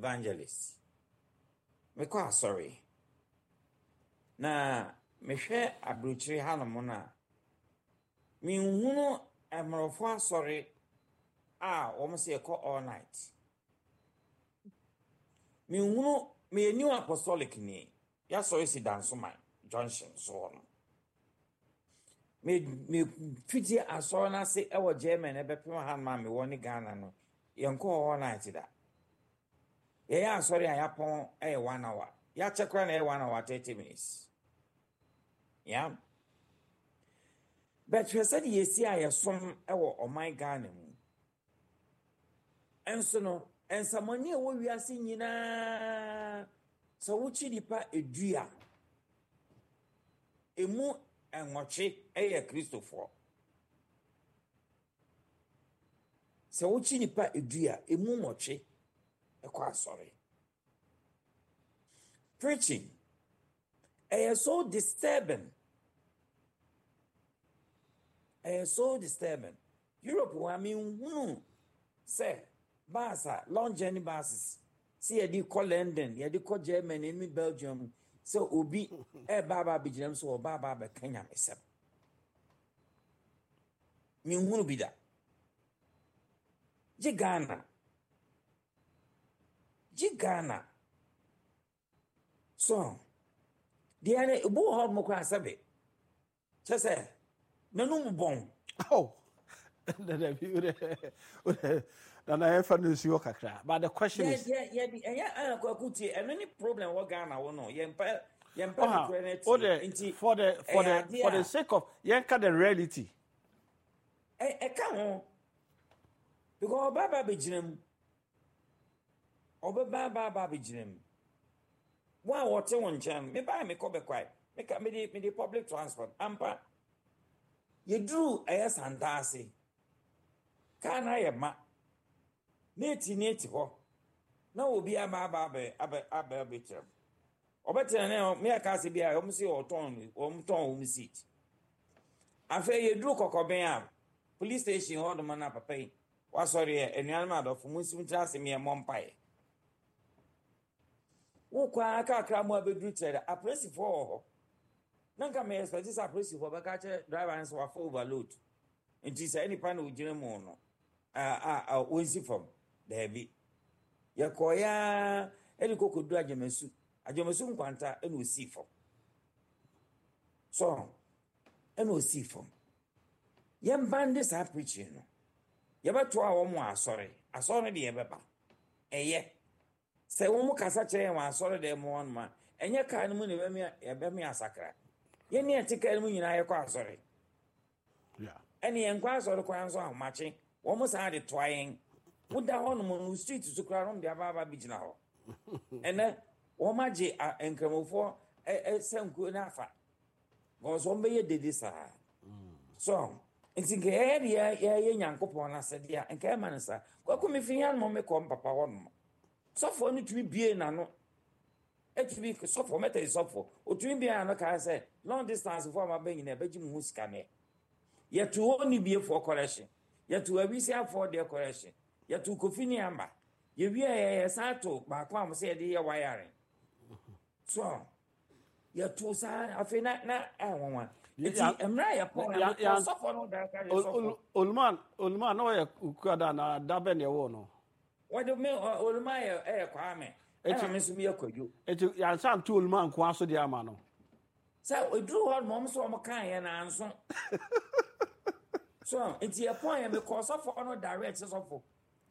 evangelist. Mekɔ asɔre. Na mehwɛ aburokyire hanom no a, menhunu mmorɔfo asɔre a wɔn sɛ yɛkɔ all night. Menhunu, meyɛ New Apostolic ni. Yɛasɔre si Dansoman junction so hɔ no. Me me fiti asɔre no ase wɔ Germany ɛbɛpem hanom a mewɔ ne Ghana no, yɛnkɔɔ all night da. Yɛyɛ asɔre a yɛapɔn yɛ 1 hour. Yɛakyɛ koraa na ɛyɛ 1 hour 30 minutes. Yeah. But hwɛ sɛdeɛ yɛsi a yɛsom wɔ ɔman Ghana mu. Nso no, nsamani a ɛwɔ wiase nyinaa, sɛ wokyi nipa 10 a, emu 8 yɛ Kristofoɔ. Sɛ wokyi nipa 10 a, emu 8 kɔ asɔre. Preaching, ɛyɛ so disturbing. Ɛyɛ so disturbing. Europe hɔ a menhunu sɛ bus a long journey buses sɛ yɛde kɔ London, yɛde kɔ Germany ne Belgium sɛ obi ɛreba aba abɛgyina mu sɛ ɔba aba abɛka nyamesɛm. Menhunu bi da. Gye Ghana. Gye Ghana. So deɛ no ebi wɔ hɔ nom koraa sɛbe kyɛ sɛ n'anum bɔn. Oh, nana yɛmfa no nsi hɔ kakra, but the question is. Yɛ yɛ ɛyɛ ɛyɛ Kwaku tie, ɛno ne problem wɔ Ghana wo no yɛmpɛ yɛmpɛ nokorɛ no atie nti. For the sake of yɛnka the reality. Ɛka ho because ɔba ba bɛgyina mu, ɔbɛba ba ba bɛgyina mu. Wɔn a wɔte wɔn nkyɛn no, mebaa mekɔ bɛkwae, meka mede public transport ampa. Yɛduru ɛyɛ Santase, kaa no ayɛ ma na eti ne eti hɔ na obi aba aba abɛ abɛ abɛ abɛkyerɛ mu. Ɔbɛtena ne mmea kaa sɛ bi a wɔn si wɔtɔn wɔn tɔn wɔn seat. Afei yɛduru Kɔkɔbɛn a police station hɔ nom na papa yi wasɔre yɛ, anuanom adɔfo, mo nsi ntena ase mmea mmɔ mpaeɛ. Wokɔ ara kakra mu abɛduru kyerɛ dɛ apolisifoɔ wɔ hɔ. Na nka meyɛ expect sɛ apolisifoɔ bɛka kyerɛ driver no sɛ wafa overload nti saa nipa na ogyina mu no a a wɔnsi fam. Daabi, yɛkɔɔ ya ɛde kɔkɔduru Agyamasu, Agyamasu nkwanta ɛna osii fam. So ɛna osii fam. Yɛn de saa preaching no yɛbɛtoa wɔn wɔ asɔre. Asɔre no deɛ yɛbɛba. Ɛyɛ sɛ wɔn kasa kyerɛ yɛn wɔ asɔre dɛm mu hɔnom a, ɛnyɛ kaa no mu na yɛbɛmi asakra. Yɛn ne yɛte kaa no mu nyinaa yɛkɔ asɔre. Ɛne yɛn kɔ asɔre kwan nso ahomakye wɔn saa de toa yɛn. Woda hɔnom no street so koraa wɔn de aba aba bi gyina hɔ. Ɛnɛ wɔn agye nkramofoɔ ɛ sankuo no afa because wɔn bɛyɛ dede saa. So nti nka yɛyɛ de yɛyɛ Nyankopɔn n'asɛdeɛ a nka ɛma no saa. Kwaku, mi fi hanom mekɔ mpapa hɔnom, sɔfoɔ no tumi bie n'ano, etumi sɔfoɔ mɛtɛ sɔfoɔ otumi bie n'ano kaa sɛ long distance foɔ a ma bɛ nyinaa ɛbɛgye mu ho sika nɛ. Yɛto hɔ ni biefoɔ correction, yɛto awisiafoɔ deɛ correction, yɛto Kofi ne amba yɛwie yɛ yɛsan to baako a mo sɛ yɛde yɛ wiring so yɛto saa. Afei na ɛnwanwa nti mmerɛ a yɛpɔn na mekɔ sɔfoɔ no da ka yɛ sɔfoɔ. Oluman, Oluman na ɔyɛ Kuada na da bɛ na ɛwɔ no. Wɔde me Oluman yɛ ɛyɛ Kwame, ɛna me nso meyɛ Kwadwo. Eti yansa nto Oluman nko aso deɛ ama no. Sɛ eduru hɔ nom sɛ wɔn kan yɛ nanso so nti yɛpɔn yɛ mekɔ sɔfoɔ no direct sɛ sɔfo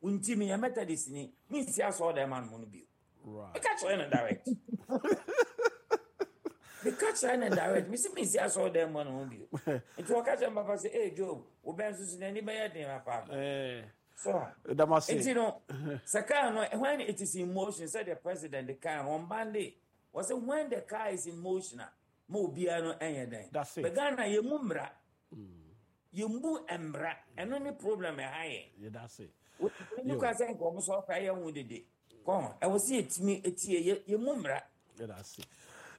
nti meyɛ Methodist ni, mensi asɔre dɛm anom no bio. Meka kyerɛ no direct, meka kyerɛ no direct, mesi mensi asɔre dɛm mu no bio. Nti wɔka kyerɛ me papa sɛ, ee Job, wo bɛn nso so n'ani bɛyɛ den papa. So nti no sɛ kaa no, when it is in motion, sɛ the president kaa no wɔn bande wɔ sɛ when the car is in motion a ma obiara no ɛnyɛ dɛn. But Ghana yɛ mu mmara, yɛmbu mmara, ɛno ne problem ɛha yɛn. Yɛda ne kwan sɛ nka ɔmo sɔ ɔkora yɛ ho dede kɔn ɛwɔ sɛ yɛtumi etie yɛ yɛmu mmara. Yɛda ase.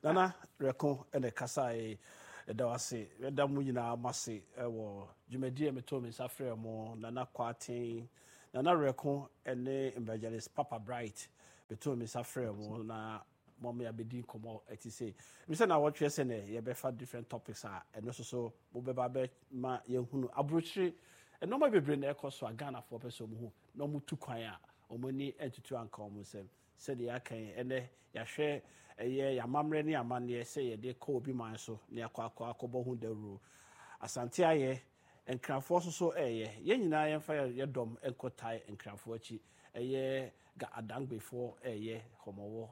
Nana Rɛko ɛna ɛkasa yi, ɛda wase, ɛda mu nyinaa mo ase ɛwɔ dwumadie a metoo me nsa frɛ mo. Nana Kwaten, Nana Rɛko ɛne Evangelist Papa Bright. Metoo me nsa frɛɛ mo na mo yɛabɛdi nkɔmmɔ ɛte sei. Mesɛ na wɔtwerɛ sɛ nɛ yɛbɛfa different topics a ɛno nso so mobɛba bɛma yɛhunu aburokyire nneɛma bebree na ɛkɔ so a Ghanafoɔ pɛ sɛ wɔn hu na wɔn tu kwan a wɔn ani ntutu anka wɔn nsam. Sɛdeɛ yɛaka yi, ɛnnɛ yɛahwɛ ɛyɛ yɛn amammerɛ ne amanneɛ sɛ yɛde kɔ obi man so na yɛakɔ akɔ akɔbɔ ho dawuro. Asante ayɛ, Nkrafoɔ nso so reyɛ. Yɛn nyinaa yɛmfa yɛn dɔm nkɔtae Nkrafoɔ akyi. Ɛyɛ Ga Adangbefoɔ reyɛ, Hɔmɔwɔ.